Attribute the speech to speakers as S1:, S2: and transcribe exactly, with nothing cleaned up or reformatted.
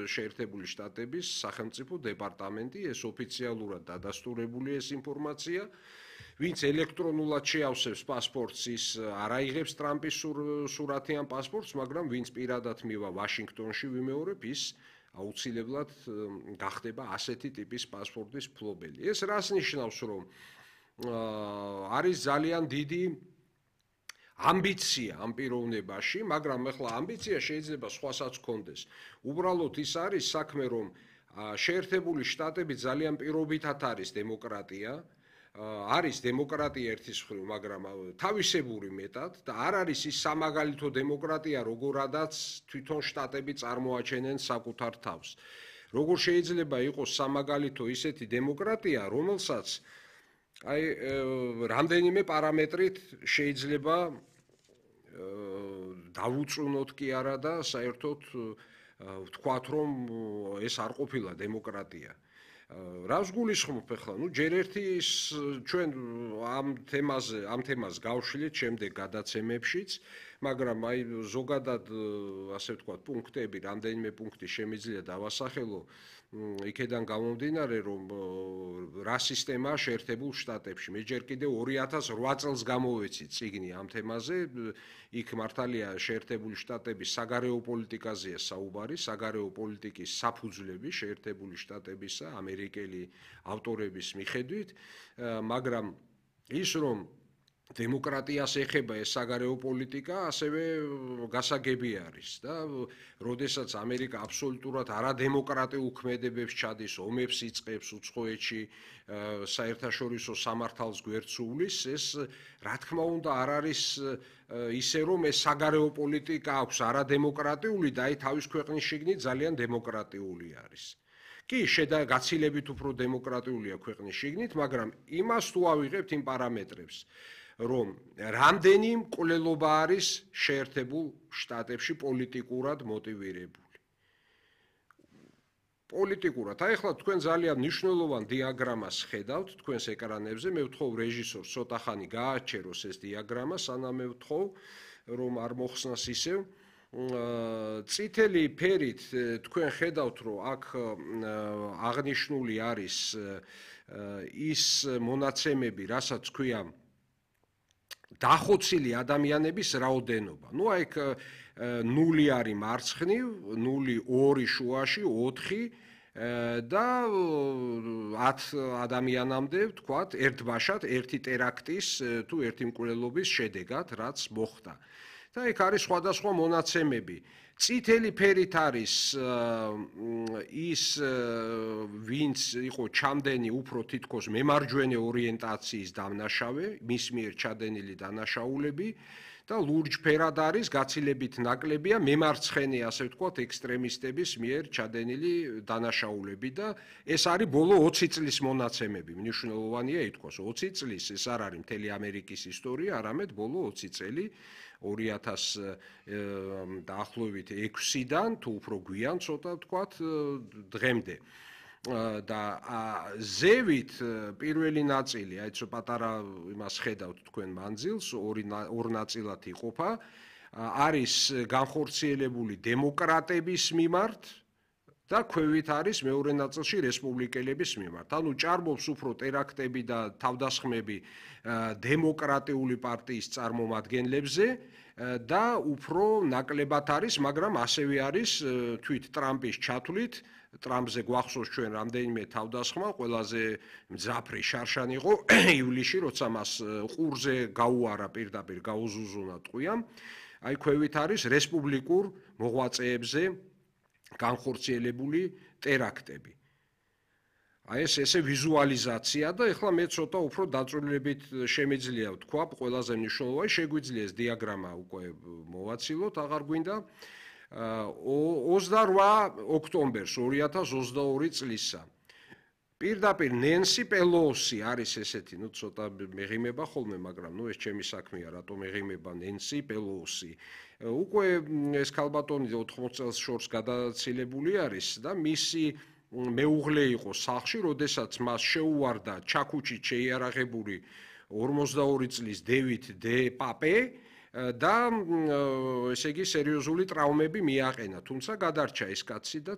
S1: შეერთებული შტატების სახელმწიფო დეპარტამენტი, ეს ოფიციალურად დადასტურებული ეს ინფორმაცია. Ვინც ელექტრონულად შეავსებს პასპორტს, ის არ აიღებს ტრამპის სურათიან პასპორტს, მაგრამ ვინც პირადად მივა ვაშინგტონში ვიმეორებ, ის აუცილებლად გახდება ასეთი ტიპის პასპორტის მფლობელი. ეს რას ნიშნავს, რომ არის ძალიან დიდი ამბიცია ამ პიროვნებაში, მაგრამ ეხლა ამბიცია შეიძლება სხვასაც ჰქონდეს. უბრალოდ ის არის საქმე, რომ შეერთებული შტატები ძალიან პირობითად არის დემოკრატია, არის დემოკრატია ერთის მხრივ, მაგრამ თავისებური მეტად და არ არის ის სამაგალითო დემოკრატია, როგორადაც თვითონ შტატები წარმოაჩენენ საკუთარ თავს. როგორ შეიძლება იყოს სამაგალითო ისეთი დემოკრატია, რომელსაც აი რამდენიმე პარამეტრით შეიძლება დავუწუნოთ კი არა და საერთოდ ვთქვათ, რომ ეს არ ყოფილა დემოკრატია. რას გულისხმობ ახლა? ნუ ჯერ ერთი ჩვენ ამ თემაზე, ამ თემას გავშლით შემდეგ გადაცემებშიც, მაგრამ აი ზოგადად ასე ვთქვათ, პუნქტები, რამდენიმე პუნქტი შემიძლია დავასახელო, იქედან გამომდინარე, რომ რა სისტემაა შეერთებულ შტატებში. მე ჯერ კიდევ ორი ათას რვა წელს გამოვეცი წიგნი ამ თემაზე, იქ მართალია შეერთებული შტატების საგარეო პოლიტიკაზეა საუბარი, საგარეო პოლიტიკის საფუძვლები შეერთებული შტატებისა, ამერიკელი ავტორების მიხედვით, მაგრამ ის რომ დემოკრატიას ეხება ეს საგარეო პოლიტიკა, ასევე გასაგები არის და როდესაც ამერიკა აბსოლუტურად არადემოკრატიულ ქმედებებს ჩადის, ომებს იწყებს უცხოეთში, საერთაშორისო სამართალს გვერდსუვლის, ეს რა თქმა უნდა არ არის ისე რომ ეს საგარეო პოლიტიკა აქვს არადემოკრატიული და აი თავის ქვეყნის შიგნით ძალიან დემოკრატიული არის. კი, შედა გაცილებით უფრო დემოკრატიულია ქვეყნის შიგნით, მაგრამ იმას თუ ავიღებთ იმ პარამეტრებს, რომ რამდენი მკვლელობა არის შეერთებულ შტატებში პოლიტიკურად მოტივირებული. პოლიტიკურად. აი ახლა თქვენ ძალიან მნიშვნელოვან დიაგრამას ხედავთ თქვენს ეკრანებზე, მე ვთხოვ რეჟისორს ცოტა ხანი გააჩეროს ეს დიაგრამა, სანამ მე ვთხოვ, რომ არ მოხსნას ისევ. წითელი ფერით თქვენ ხედავთ, რომ აქ აღნიშნული არის ის მონაცემები, რასაც ქვია დახოცილი ადამიანების რაოდენობა. ნუ აი ნული არის მარცხნივ, ნული ორი შუაში, ოთხი და ათ ადამიანამდე, ვთქვათ, ერთბაშად, ერთი ტერაქტის თუ ერთი მკვლელობის შედეგად, რაც მოხდა. და იქ არის სხვადასხვა მონაცემები. წითელი ფერით არის ის ვინც იყო ჩამდენი უფრო თითქოს მემარჯვენე ორიენტაციის დამნაშავე, მის მიერ ჩადენილი დანაშაულები და ლურჯ ფერად არის გაცილებით ნაკლებია მემარცხენე, ასე ვთქვათ, ექსტრემისტების მიერ ჩადენილი დანაშაულები და ეს არის ბოლო ოცი წლის მონაცემები. მნიშვნელოვანია ითქვას, ოცი წლის ეს არ არის მთელი ამერიკის ისტორია, არამედ ბოლო ოცი წელი ორი ათას დაახლოებით ექვსიდან თუ უფრო გვიან ცოტა ვთქვათ დღემდე. და ზევით პირველი ნაწილი, აი ცოტა პატარა იმას ხედავთ თქვენ მანძილს, ორი ორ ნაწილად იყოფა, არის განხორციელებული დემოკრატების მიმართ და ქვევით არის მეორე ნაწილში რესპუბლიკელების მიმართ. ანუ ჭარბობს უფრო ტერაქტები და თავდასხმები დემოკრატიული პარტიის წარმომადგენლებზე და უფრო ნაკლებად არის, მაგრამ ასევე არის თვით ტრამპის ჩათვლით, ტრამპზე გვახსოვს ჩვენ რამდენიმე თავდასხმა, ყველაზე მძაფრი შარშანი იყო ივლისში, როცა მას ყურზე გაუარა პირდაპირ გაუზუზუნა ტყვიამ. აი ქვევით არის რესპუბლიკურ მოღვაწეებზე განხორციელებული ტერაქტები. აი ეს ესე ვიზუალიზაცია და ეხლა მე ცოტა უფრო დაწვრილებით შემიძლია ვთქვა, ყველაზე მნიშვნელოვანი შეგვიძლია ეს დიაგრამა უკვე მოვაცილოთ, აღარ გვინდა. ოცდარვა ოქტომბერს ორი ათას ოცდაორი წლისა. პირდაპირ ნენსი პელოსი არის ესეთი, ნუ ცოტა მეღიმება ხოლმე, მაგრამ ნუ ეს ჩემი საქმეა, რატომ მეღიმება ნენსი პელოსი. უკვე ეს ქალბატონი ოთხმოც წელს შორს გადაცილებული არის და მისი მეუღლე იყო სახლში, როდესაც მას შეუვარდა ჩაქუჩით შეიარაღებული ორმოცდაორი წლის დევიდ დე პაპე და ესე იგი სერიოზული ტრავმები მიაყენა, თუმცა გადარჩა ეს კაცი და